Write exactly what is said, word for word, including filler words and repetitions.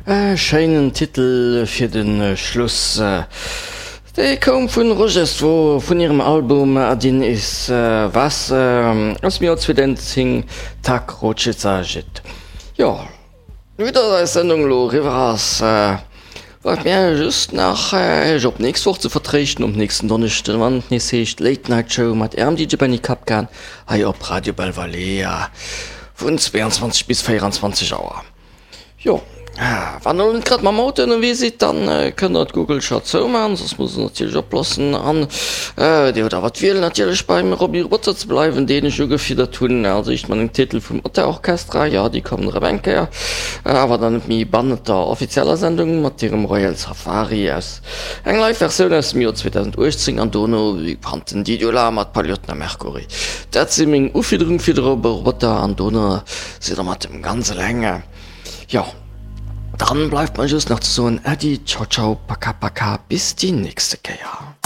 E schéinen Titel fir de Schluss. Dee koum vun Rožestvo vun hirem Album Один из вас aus dem Joer zweedausendzéng, Tak хочется жить. Jo, vue dass eis Sendung elo eriwwer ass, bleift mir just nach iech op d'nächst Woch ze vertréischten, op nächsten Donneschden, wann et nees heescht Late Night Show mat ärem D J Benny Kapkan hei op Radio Belvalea vun zweiundzwanzeg bis véieranzwanzeg Auer. Jo, wann der elo net grad mam Auto ënnerwee sidd, dann kënnt der d'Google-Scho zoumaachen, soss musst der natierlech oplossen. An dir hutt awer d'Wiel natierlech beim Roby Roboter ze bleiwen, deen ech ugefiddert hunn als éischt mat engem Titel vum Otta Orchestra. Jo, déi kommen erëm eng Kéier, awer dann net méi bannent der offizieller Sendung, mat hirem Royal Safari aus eng Live-Versioun aus dem Joer zweedausenduechtzéng an dono wéi bekannt den Didio La mat Paliotten a Mercury. Dat si meng Ufiederung fir de Roby Roboter an dono sidd der mat dem ganz eleng. Jo, dann bleift mer just nach ze soen Äddi, ciao ciao, paka paka, bis déi nächste Kéier.